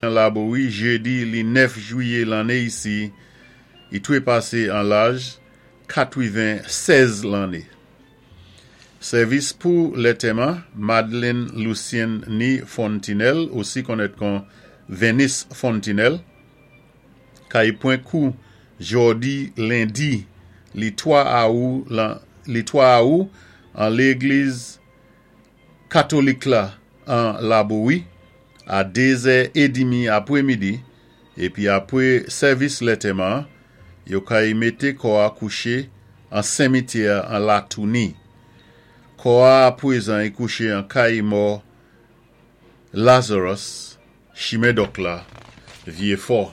An Labowi jedi li 9 jwiyé lanné isi, i twépasé an laj 96 lanné. Sèvis pou lètèman Madeline Lucien ni Fontinelle, osi konnèt kon Venice Fontinelle, kay pwan kou jòdi lendi li 3 awou lan li 3 awou an légliz Katolik la an Labowi a 2 zè edimi apwé midi épi apwé sèvis lètèman an, yo kay mété kò-a kouché an senmityè an Latouni. Kò-a apwézan i kouché an kay mò Lazarus, Chimen Dòk la, Vyéfò.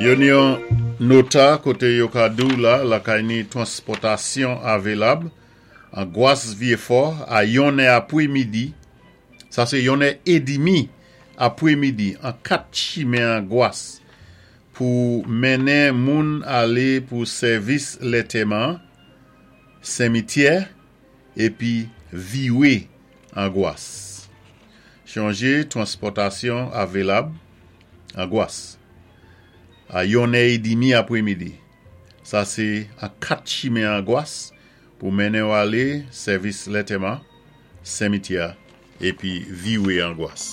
Yo ni yon nota koté yo ka di-w la lakay ni twanspòtasyon avelab an Gwas Vyefò a yonnè apwé midi, sa sé yonnè edimi apwé midi an 4 chimen an Gwas pou mennen moun alé pou sèvis lètèman, senmityè épi viwé an Gwas. Chonjé twanspòtasyon avelab an Gwas a yonnè edimi apwé midi. Sa sé an 4 chimen an Gwas pou mennen-w alé sèvis lètèman, senmityè épi viwé an Gwas.